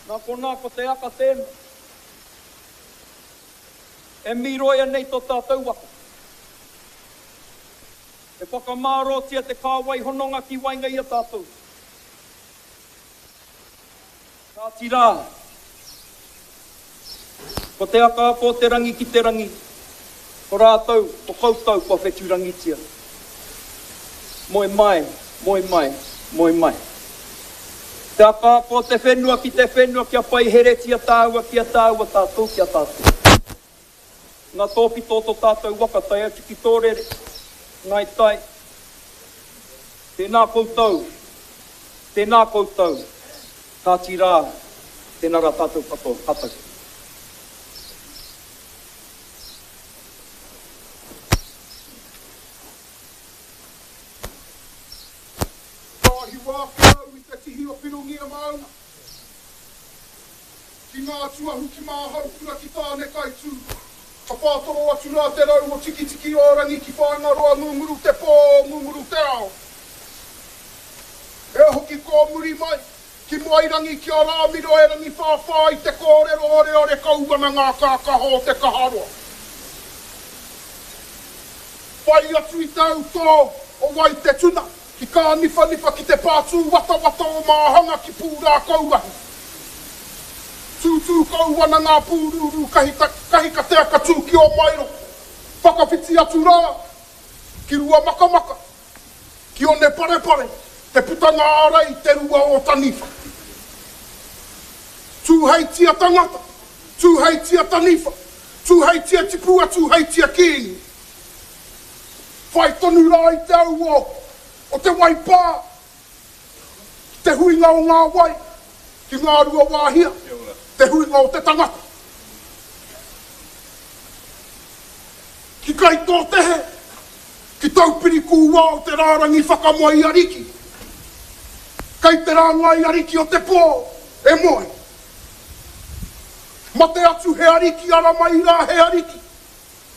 Nā konā ko te aka tēnā e mīroia nei tō tātou waka. E whakamārōtia te kāwai hononga ki waenga i a tātou. Kāti rā, ko te akaaka o te rangi ki te rangi, ko rātou, ko koutou kua whetūrangitia. Moe mai, moe mai, moe mai. Te akaaka o te whenua ki te whenua kia paiheretia tāua ki a tāua, tātou ki a tātou. Ngā tōpito o tō tātou waka tae atu ki tō rere, Ngāi Tai. Tēnā koutou, tēnā koutou, kāti rā, tēnā rā tātou katoa, ka tau. Ka hiwa ake au i te tihi o Pirongia maunga. Ki ngā tuahu ki Māhaukura ki Tānekaitū, ka whātoro atu rā te rau o Tikitiki-o-rangi ki Whāingaroa ngunguru te pō, ngunguru te ao. Ea hoki kō muri mai, ki Moairangi ki a Rāmiro e rangiwhāwhā i te kōrero oreore kau ana ngā kākaho o te kaharoa. Whai atu i te autō o Waitetuna, Ki Kāniwhaniwha ki te pā tūwatawata o Māhanga ki Pūrākauahi. Tūtū kau ana ngā pūrūrū kahikatea ka tū ki Ōmaero. Whakawhiti atu rā ki Ruamakamaka, ki Oneparepare, te putanga ārai te rua o Taniwha. Tūheitia tangata, tūheitia taniwha, tūheitia tipua, tūheitia kīngi. Whai tonu rā i te au o te waipā, ki te huinga o ngā wai, ki Ngāruawāhia, te huinga o te tangata. Ki Kaitōtehe, ki Taupiri kūwao te rārangi whakamoe ariki, kei te rāngai ariki o te pō e moe. Mate atu he ariki ara mai rā he ariki.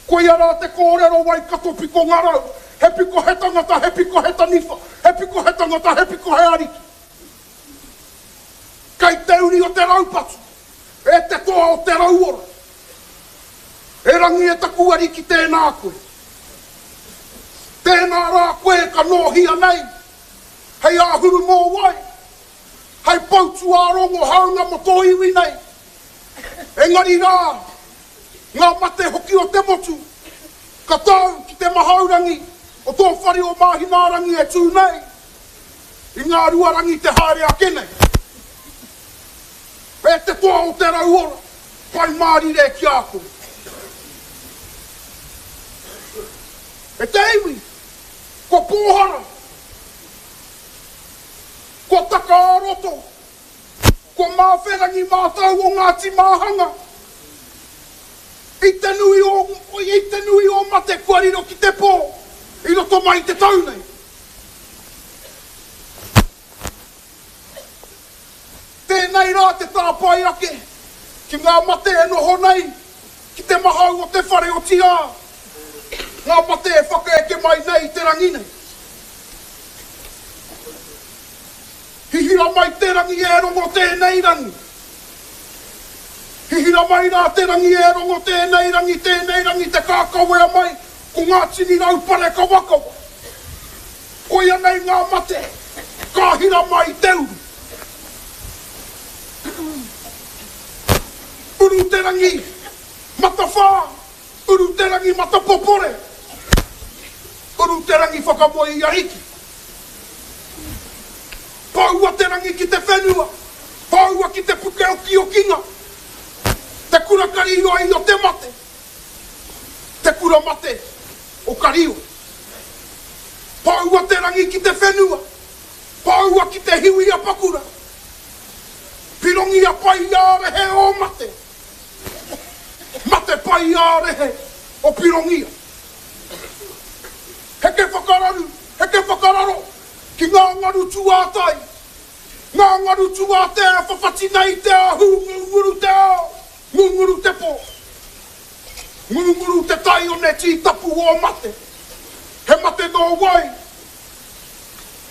Koia rā te kōrero Waikato piko ngarau, he piko he tangata, he piko he taniwha, he piko he tangata, he piko he ariki. Kei te uri o te raupatu, e te toa o te rauora. E Rangi e taku ariki tēnā koe. Tēnā rā koe ka nōhia nei, hei āhuru mōwai, hei poutuārongo hāunga mō tō iwi nei. Engari rā, ngā mate hoki o te motu, ka tau ki te mahaurangi o tō whare o Māhinārangi e tū nei, i ngā ruarangi te haere ake nei. E te toa o te rauora, pai mārire ki a koe. E te iwi, kua pōhara, kua taka ā-roto, Kua māwherangi mātou o Ngāti Māhanga i te nui o, i te nui o mate kua riro ki te pō i roto mai i te tau nei. Tēnei rā te tāpae ake ki ngā mate e noho nei ki te mahau o te whare otirā ngā mate e whakaeke mai nei i te rangi nei. Hihira mai te rangi e rongo tēnei rangi. Hihira mai rā te rangi e rongo tēnei rangi, tēnei rangi te kākawea mai ko ngā tini raupare kawakawa. Koia nei ngā mate ka hira mai i te uru. Uru te rangi matawhā, uru te rangi matapopore, uru te rangi whakamoe i Ariki. Poua te rangi ki te whenua, poua ki te puke okiokinga, te kura karioi o te mate, te kura mate o Kario. Poua te rangi ki te whenua, poua ki te hiwi a Pakura, pirongia pai ā-rehe o mate, mate pai ā-rehe o Pirongia. Heke whakararu, heke whakararo ki ngā ngaru tūātai, ngā ngaru tūātea e whawhati nei i te ahu ngunguru te ao, ngunguru te pō. Ngunguru te tai one tītapu o mate. He mate nō wai?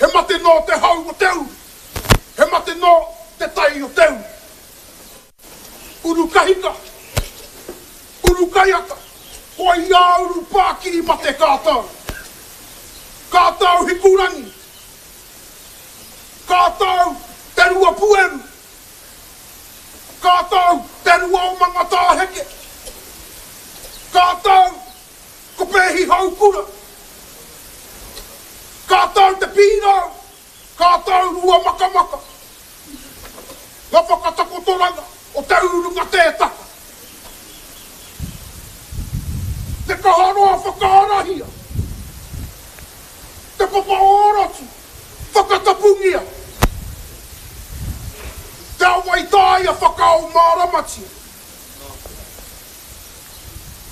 He mate nō te hau o te uru. He mate nō te tai o te uru. Urukahika, Urukaiata, koia Urupākiri mate ka tau. Ka tau Hikurangi, ka tau Te Ruapueru, ka tau Te Rua o Mangatāheke, ka tau Ko Pēhi Haukura, ka tau Te Pīrau, Ka tau Ruamakamaka nga whakatakotoranga o te urunga tē taka. Te kaharoa whakaarahia, te papa ōrotu whakatapungia, te awa i tāia whakaao māramatia.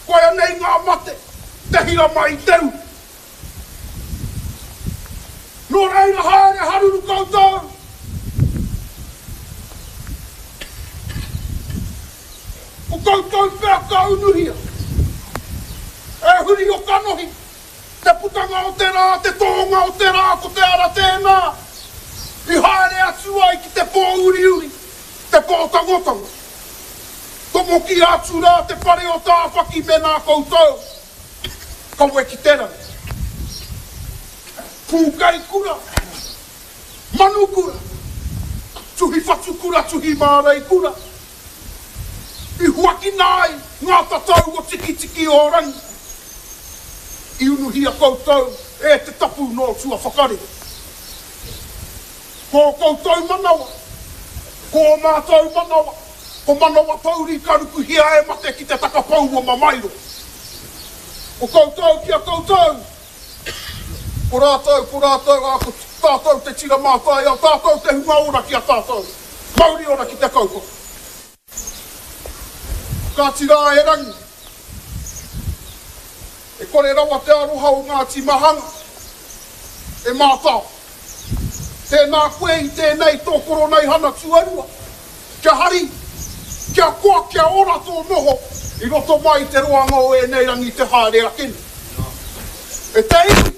Koia nei ngā mate te hira mai i te uru. Nō reira haere haruru koutou. Ko koutou pea ka unuhia. E huri o kanohi, te putanga o te rā, te tōnga o te rā, ko te ara tēnā i haere atu ai ki te pō uriuri, te pō tangotango. Tomokia atu rā te whare o Tāwhaki mēnā koutou. Kawe ki te rangi. Pūkai kura, manu kura, tuhi whatu kura, tuhi mārei kura. I huakina ai ngā tatau o Tikitiki o Rangi. I unuhia koutou e te tapu nō tua whakarere. Ko ō koutou manawa, ko ō mātou manawa, ko manawa pouri ka rukuhia e mate ki te takapou o Mamairo. Ko koutou ki a koutou, ko rātou, ko rātou, ā, ko tātou te tira mātaiao, tātou te hunga ora ki a tātou. Mauri ora ki te kaupapa. Kāti rā e Rangi, e kore rawa te aroha o Ngāti Mahanga e mātao. Tēnā koe i tēnei tō Koroneihana tuarua, kia hari, kia koa, kia ora tō noho i roto mai i te roanga o ēnei rangi te haere ake nei. E te iwi,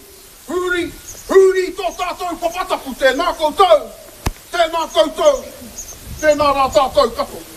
huri, huri i tō tātou papatapu, tēnā koutou, tēnā koutou, tēnā rā tātou katoa.